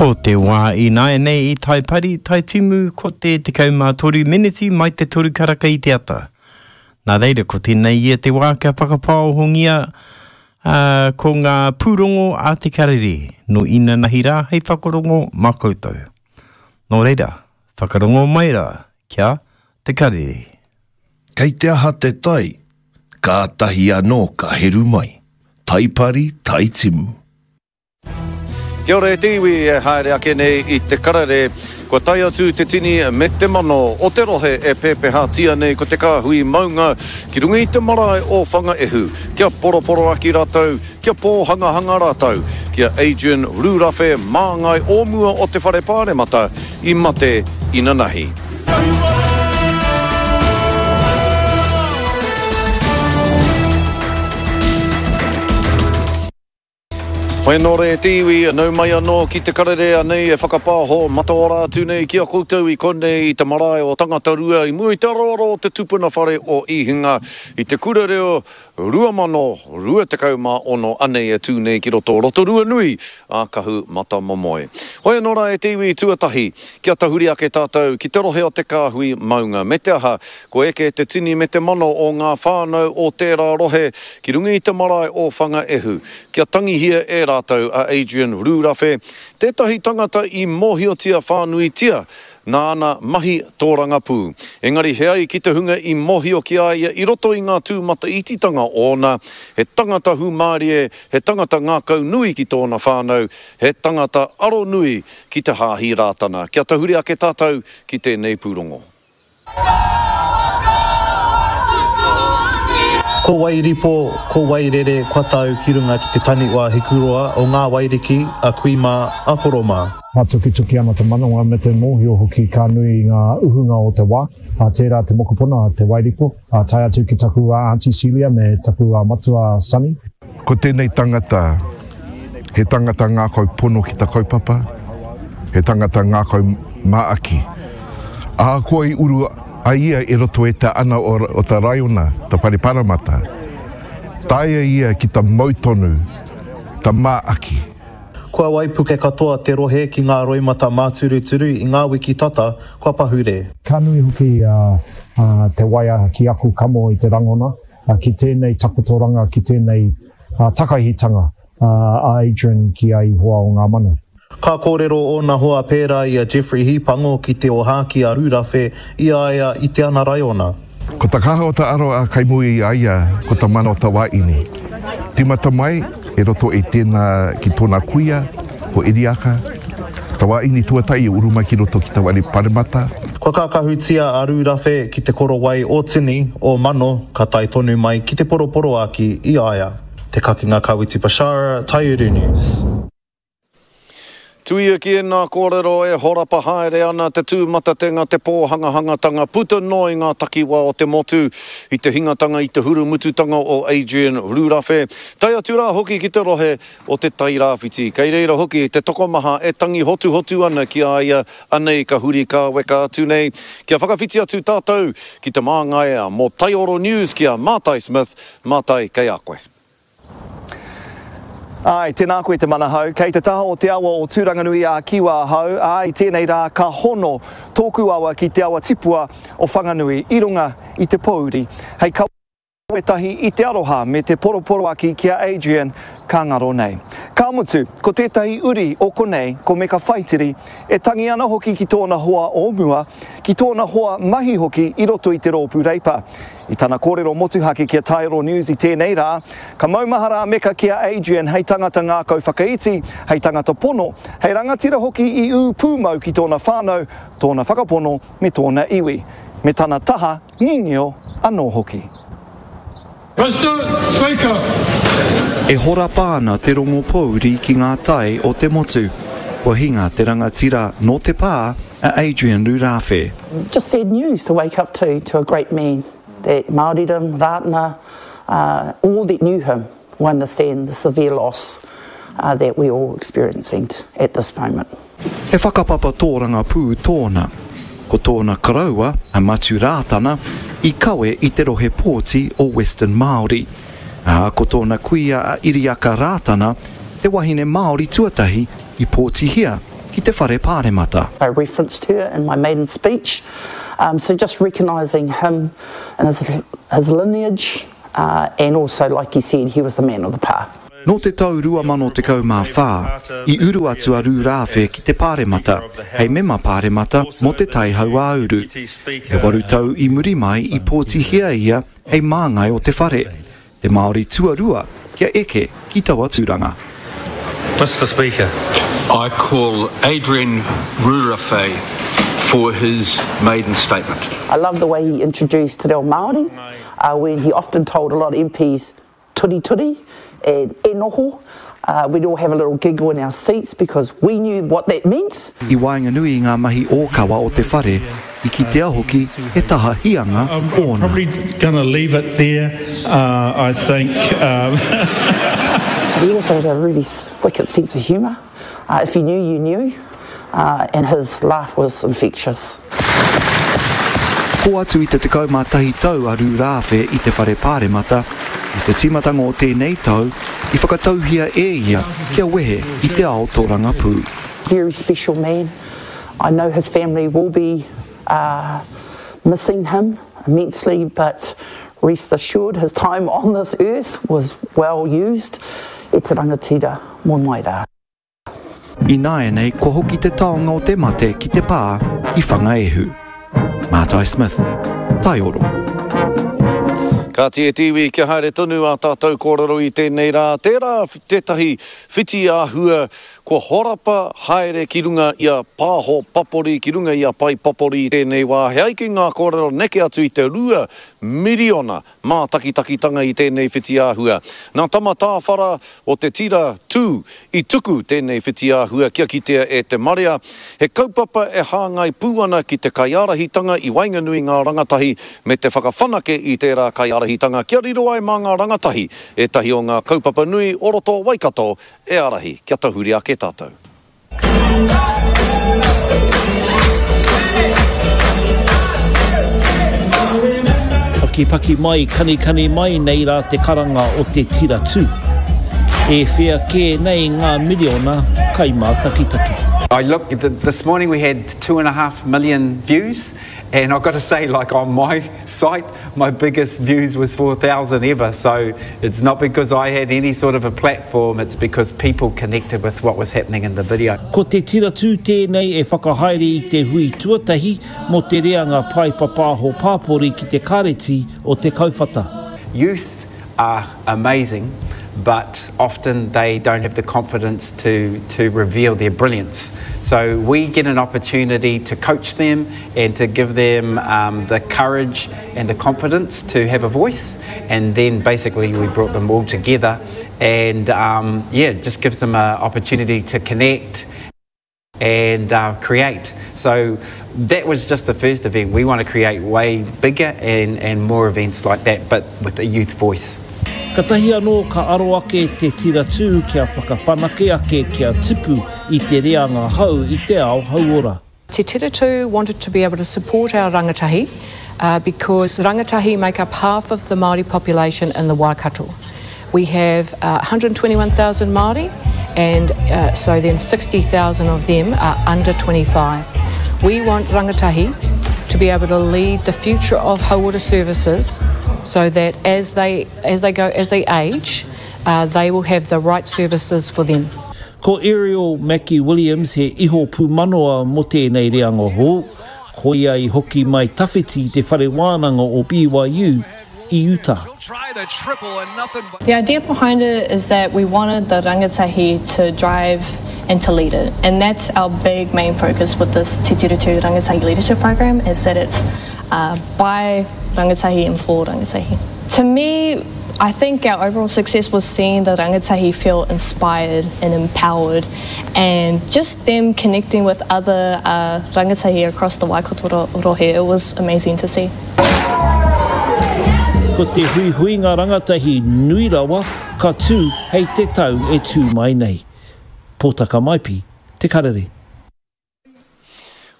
Ko te wā ināianei i Taipari, Taitimu, ko te 13 meneti mai te toru karaka i te ata. Nā reira, ko tēnei ia te wā kia whakapāohongia ā, ko ngā pūrongo a te karere nō inanahi rā hei whakarongo mā koutou. Nō reira, whakarongo mai rā kia Te Karere. Kei te aha te tai, kātahi anō ka heru mai. Taipari, Taitimu. Kia ora e te iwi e haere ake nei i te karere. Kua tae atu te tini me te mano o te rohe e pēpehatia nei ko te kāhui maunga ki runga i te marae o Whangaehu kia poroporoaki rātou, kia pōhangahanga rātou ki a Adrian Rūrawhe māngai o mua o te Whare Pāremata i mate inanahi. Hoi anō rē te iwi, nau mai anō ki te karere anei e whakapāho mataora atu nei ki a koutou i konei i te marae o Tangatarua i mua i te aroaro o te tupuna whare o Ihinga i te kura reo 2026 anei e tū nei ki roto o Rotorua nui a Kahu Matamomoe. Hoi anō rā e te iwi tuatahi kia tahuri ake tātou ki te rohe o te kāhui maunga me te aha Kua eke te tini me te mano o ngā whānau o tērā rohe ki runga i te marae o Whangaehu, kia tangihia e rātou a Adrian Rūrawhe, tētahi tangata i mōhiotia whānuitia nā ana mahi tōrangapū. Engari he ai ki te hunga i mōhio ki a ia i roto i ngā tūmataititanga ōna, he tangata hūmārie, he tangata ngākaunui ki tōna whānau, he tangata aronui ki te Hāhi Rātana. Kia tahuri ake tātou ki tēnei pūrongo. Ko Wairipo, ko Wairere kua tau ki runga ki te taniwha hikuroa o ngā wairiki a kui mā, a koro mā. Ka tukituki ana te manawa me te mōhio hoki ka nui ngā uhunga o te wā, ā, tērā te mokopuna a Te Wairipo, ā, tae atu ki taku Aunty Celia me taku matua Sonny. Ko tēnei tangata, he tangata ngākau pono ki ta kaupapa, he tangata ngākau māaki. Ahakoa i uru a ia i roto e te ana o ta raiona, ta whare paramata, taea ia ki ta mau tonu ta māaki. Kua waipuke katoa te rohe ki ngā roimata māturuturu i ngā wiki tata kua pahure. Ka nui hoki te waia ki aku kamo i te rangona, ki tēnei takotoranga, ki tēnei takahitanga a Adrian ki a Ihoa o ngā mano. Ka kōrero ōna hoa pērā i a Jeffrey Hīpango ki te ōhākī a Rūrawhe i a ia i te ana raiona. Ko ta kaha o ta aro a kai mua i a ia ko ta mana o ta waini. Timata mai e roto i tena ki tona kuia ko Iriaka, ta waini tuatahi i uru mai ki roto ki ta ware paremata. Kua kākahutia a Rūrawhe ki te korowai o tini, o mano, ka tae tonu mai ki te poroporoāki i a ia. Te Kakenga Kawiti Bashara, Taiuru News. Tuia ki ēnā kōrero e horapa haere ana te tūmatatenga, te pōhangahangatanga puta noa i ngā takiwā o te motu i te hingatanga i te hurumututanga o Adrian Rūrawhe, tae atu rā hoki ki te rohe o Te Tai Rāwhiti. Kei reira hoki te tokomaha e tangi hotuhotu ana ki a ia, anei ka huri kāweka atu nei. Kia whakawhiti atu tātou ki te māngai mō Taioro News ki a Mātai Smith, Mātai kei a koe. Āe, tēnā koe Te Manahau. Kei te taha o te awa o Tūranganui ā Kiwa ahau, ā, i tēnei rā ka hono tōku awa ki te awa tipua o Whanganui i runga i te pōuri. Hei kawe tahi i te aroha me te poroporoaki ki a Adrian ka ngaro nei. Ka mutu, ko tētahi uri o konei, ko Meka Whaitiri, e tangi ana hoki ki tōna hoa o mua, ki tōna hoa mahi hoki i roto i te rōpū Reipa. I tana kōrero motuhake ki a Taioro News i tēnei rā, ka maumahara a Meka ki a Adrian hei tangata ngākau whakaiti, hei tangata pono, hei rangatira hoki i ū pūmau ki tōna whānau, tōna whakapono me tōna iwi, me tana taha ngingio anō hoki. Mister Speaker. E horapa ana te rongo pōuri ki ngā tai o te motu. Kua hinga te rangatira nō te pā a Adrian Rūrāwhe. Just sad news to wake up to, to a great man that Māoridom, Rātana, uh, all that knew him will understand the severe loss uh, that we're all experiencing at this moment. He whakapapa tōrangapū tōna. Ko tōna koroua, a Matiu Rātana, i kawe i te rohe pōti o Western Māori. Ā, ko tōna kuia a Iriaka Rātana, te wahine Māori tuatahi i pōtihia. ki te Whare Pāremata. I referenced her in my maiden speech, um, so just recognising him and his, his lineage, uh, and also, like you said, he was the man of the pā. Nō te tau 2014, i uru atu a Rūrāwhe ki te Pāremata hei mema pāremata mō Te Tai Hauāuru. E waru tau i muri mai i pōtihia ia hei māngai o te whare, te Māori tuarua kia eke ki taua tūranga. Mister Speaker. I call Adrian Rurawhe for his maiden statement. I love the way he introduced te reo Māori, uh, when he often told a lot of MPs turi turi and e noho, uh, we'd all have a little giggle in our seats because we knew what that meant. I waenganui i ngā mahi ōkawa o te whare, i kitea hoki he taha hianga ōna. I'm probably gonna leave it there, uh, I think. Um. He also had a really wicked sense of humour. Uh, if you knew, you knew. Uh, and his laugh was infectious. Kō atu i te 11 tau a Rūrāwhe i te Whare Pāremata, i te tīmatanga o tēnei tau, i whakatauhia e ia kia wehe i te ao tōrangapū. Very special man. I know his family will be uh, missing him immensely, but rest assured his time on this earth was well used. E te rangatira, moe mai rā. Ināianei kua hoki te taonga o te mate ki te pā i Whangaehu. Mātai Smith, Taioro. Kāti e te iwi, kia haere tonu ā tātou kōrero i tēnei rā. Tērā tētahi whiti āhua kua horapa haere ki runga i a Pāho Papori, ki runga i a Pai Papori i tēnei wā. He ai ki ngā kōrero neke atu i te 2 miriona mātakitakitanga i tēnei whitiāhua. Nā Tama Tāwhara o te tira Tū i tuku tēnei whitiāhua kia kitea e te marea. He kaupapa e hāngai pū ana ki te kaiārahitanga i waenganui ngā rangatahi me te whakawhanake i tērā kaiārahitanga kia riro ai mā ngā rangatahi ētahi o ngā kaupapa nui o roto o Waikato e ārahi kia tahuri ake tātou. Pakipaki mai, kanikani mai nei rā te karanga o te tira tū. E whea kē nei ngā miriona kaimātakitaki. I look, this morning we had 2.5 million views and I've got to say like on my site my biggest views was 4,000 ever so it's not because I had any sort of a platform it's because people connected with what was happening in the video. Ko te tira tū tēnei e whakahaere i te hui tuatahi mō te reanga pae papāho pāpori ki te Kāreti o Te Kauwhata. Youth are amazing but often they don't have the confidence to, to reveal their brilliance. So we get an opportunity to coach them and to give them um, the courage and the confidence to have a voice. And then basically we brought them all together and um, yeah, it just gives them an opportunity to connect and uh, create. So that was just the first event. We want to create way bigger and, and more events like that, but with a youth voice. Katahi anō ka aro ake te tira tū kia whakawhanake ake kia tupu i te reanga hou i te ao hauora. Te Tira Tū wanted to be able to support our rangatahi uh, because rangatahi make up half of the Māori population in the Waikato. We have uh, 121,000 Māori and uh, so then 60,000 of them are under 25. We want rangatahi to be able to lead the future of hauora services so that as they, as they go, as they age, uh, they will have the right services for them. Ko Ariel Mackie Williams he iho pūmanawa mō tēnei reanga hou, koia i hoki mai tawhiti i te whare wānanga o BYU i Utah. The idea behind it is that we wanted the rangatahi to drive and to lead it. And that's our big main focus with this Te Tira Tū Rangatahi Leadership Program is that it's uh, by rangatahi and for rangatahi. To me, I think our overall success was seeing the rangatahi feel inspired and empowered and just them connecting with other uh, rangatahi across the Waikato rohe. It was amazing to see. Ko te huihuinga rangatahi nui rawa ka tū hei te tau e tū mai nei. Pōtaka Maipi, Te Karere.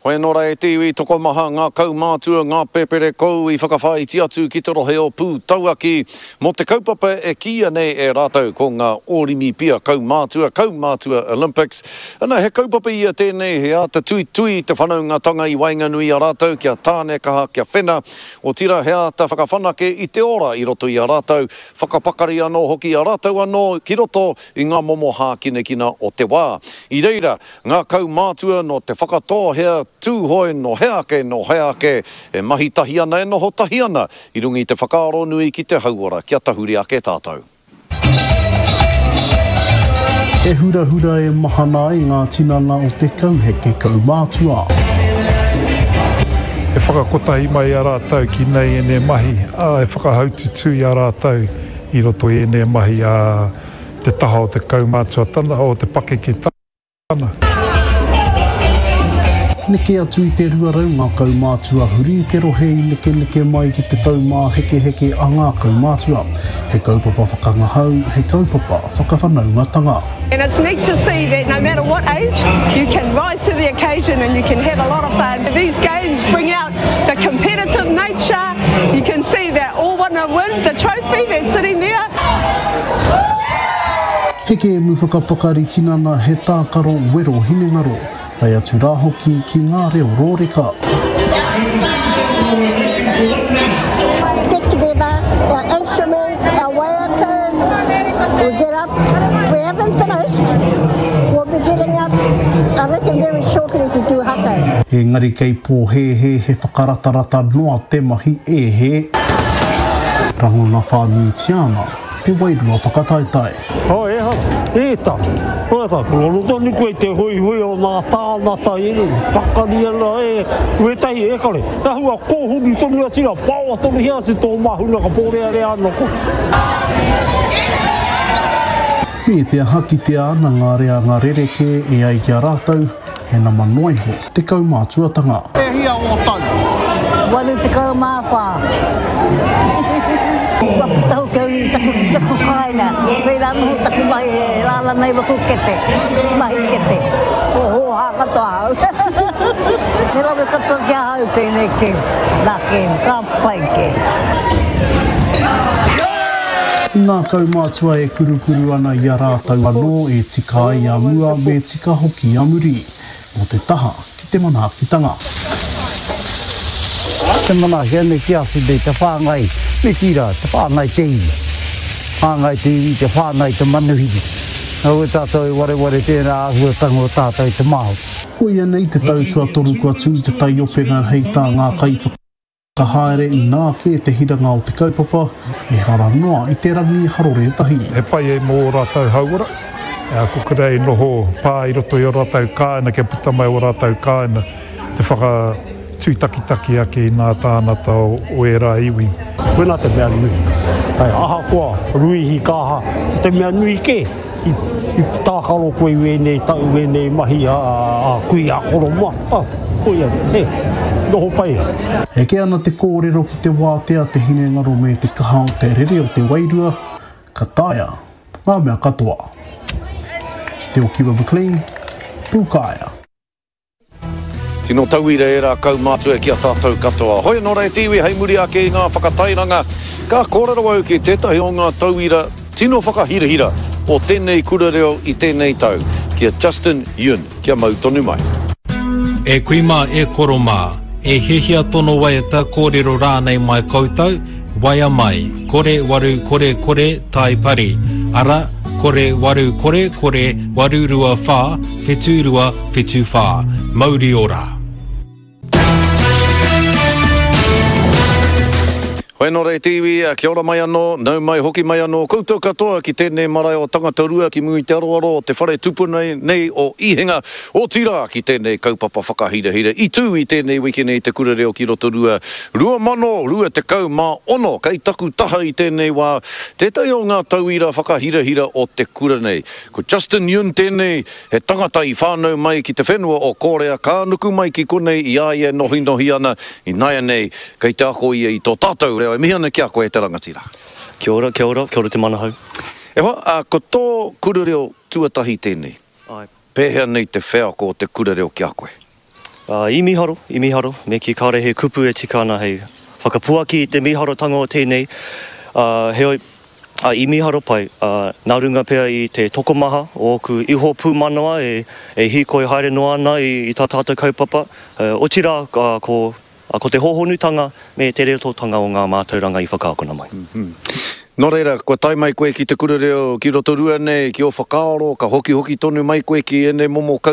Hoi anō rā e te iwi, tokomaha ngā kaumātua, ngā pēpere kou i whakawhāiti atu ki te rohe o Pūtauaki mō te kaupapa e kīia nei e rātou ko ngā Ōrimipia Kaumātua, Kaumātua Olympics. Ana, he kaupapa ia tēnei he āta tuitui i te whanaungatanga i waenganui i a rātou kia tāne kaha, kia whena, otirā he āta whakawhanake i te ora i roto i a rātou, whakapakari anō hoki i a rātou anō ki roto i ngā momo hākinakina o te wā. I reira, Ngā kaumātua nō Te Whakatōhea, Tūhoe nō hea ake, nō hea ake, e mahi tahi ana, e noho tahi ana i runga i te whakaaro nui ki te hauora kia tahuri ake tātou. E hurahura e mahana ai ngā tinana o te kauheke kaumātua. E whakakotahi mai a rātou ki nei ēnei mahi, ā, e whakahaututū i a rātou i roto i ēnei mahi a te taha o te kaumātuatana, o te pakeketana. Neke atu i te 200 ngā kaumātua huri i te rohe i nekeneke mai ki te taumāhekeheke a ngā kaumātua. He kaupapa whakangahau, he kaupapa whakawhanaungatanga. And it's neat to see that no matter what age, you can rise to the occasion and you can have a lot of fun. These games bring out the competitive nature. You can see that all want to win the trophy that's sitting there. He kēmu whakapakari tinana, he tākaro wero hinengaro, tae atu rā hoki ki ngā reo rōreka. Get together, our instruments, our waiatas, we get up, we haven't finished, we'll be getting up I reckon very shortly to do hakas. Engari kei pōhēhē he whakaratarata noa te mahi e hē. Rangona whānuitia ana te wairua whakataetae. Oh, ehara, e ta, e ta, kua rongo tonu koe i te hoihoi o ngā tāngata i ēnei, pakari ana e, wētahi e kore, e ahua kōhuru tonu atu rā, paoa tonuhia atu tō māhuna ka pōrearea anō koe. Me te aha kitea ana ngā reanga rerekē e ai ki a rātou, he nama noa iho te kaumātuatanga. E hia ō tau? 84. Kua puta hoki au i taku, taku kāinga. Wērā noho taku mahi he rārangai waku kete, mahi kete. Ko hōhā katoa ahau. He rawe katoa ki ahau tēnei kēmu, nā kēmu, ka pai kē. I ngā kaumātua e kurukuru ana i a rātou anō e tika ai a mua me tika hoki a muri, mō te taha ki te manaakitanga. Te manaaki anei ki atu nei te whāngai, me kī rā, te whāngai te iwi. Whāngai te iwi, te whāngai te manuhiri. Kaua tātou e wareware tērā āhuatanga o tātou te Māori. Koia nei te tau tuatoru kua tū te taiopenga hei tā ngā kaiwhakahaere. Ka haere inā kē te hiranga o te kaupapa, ehara noa i te rangi harore tahi. He pai ai mō ō rātou hauora, ko kura e noho pā i roto i ō rātou kāinga kia puta mai ō rātou kāinga te whakatūtakitaki ake i ngā tāngata o ērā iwi. Koinā te mea nui. Ahakoa ruihi ka aha, ko te mea nui kē. I tākaro koe i wēnei tau, wēnei mahi a kui, a koro mā, koia, he, noho pai ai. Eke ana te kōrero ki te wātea te hinengaro me te kaha o te rere o te wairua, ka taea ngā mea katoa. Te Okiwa McLean, Pūkaea. Tino tauira ērā kaumātua ki a tātou katoa. Hoi anō rā e te iwi hei muri ake i ngā whakatairanga, ka kōrero au ki tētahi o ngā tauira tino whakahirahira o tēnei kura reo i tēnei tau, ki a Justin Yun. Kia mau tonu mai. E kui mā, e koro mā, e hiahia tono waiata kōrero rānei mai koutou, Waea mai, kore waru kore kore tai pari, ara, kore waru kore kore 8 2 wha, whitu rua, whitu wha. Mauri ora. Hoi anō rā e te iwi, kia ora mai anō, nau mai hoki mai anō koutou katoa ki tēnei marae o Tangatarua ki mua i te aroaro o te whare tupuna nei o Ihenga, otirā ki tēnei kaupapa whakahirahira i tū i tēnei wiki nei Te Kura Reo ki Rotorua 2026, kei taku taha i tēnei wā tētahi o ngā tauira whakahirahira o te kura nei. Ko Justin Yun tēnei, he tangata i whānau mai ki te whenua o Kōrea, ka nuku mai ki konei i a ia e nohinohi ana, ināianei kei te ako ia i tō tātou reo. E mihi ana ki a koe e te rangatira. Kia ora, kia ora, kia ora te manahau. E hoa, ā, ko tō kura reo tuatahi tēnei. Āe. Pēhea nei te wheako o te kura reo ki a koe? I mīharo, i mīharo, me kī kāore he kupu e tika ana hei whakapuaki i te mīharotanga o tēnei, ā, heoi, ā, i mīharo pai, ā, nā runga pea i te tokomaha o ōku iho pūmanawa e, e hīkoi haere noa ana i, i tā tātou kaupapa, otirā, ā, ko, ā, ko te hōhonutanga me te reretotanga o ngā mātauranga i whakaakona mai. Nō reira, kua tae mai koe ki te kura reo ki Rotorua nei, ki ō whakaaro, ka hokihoki tonu mai koe ki ēnei momo kaupapa.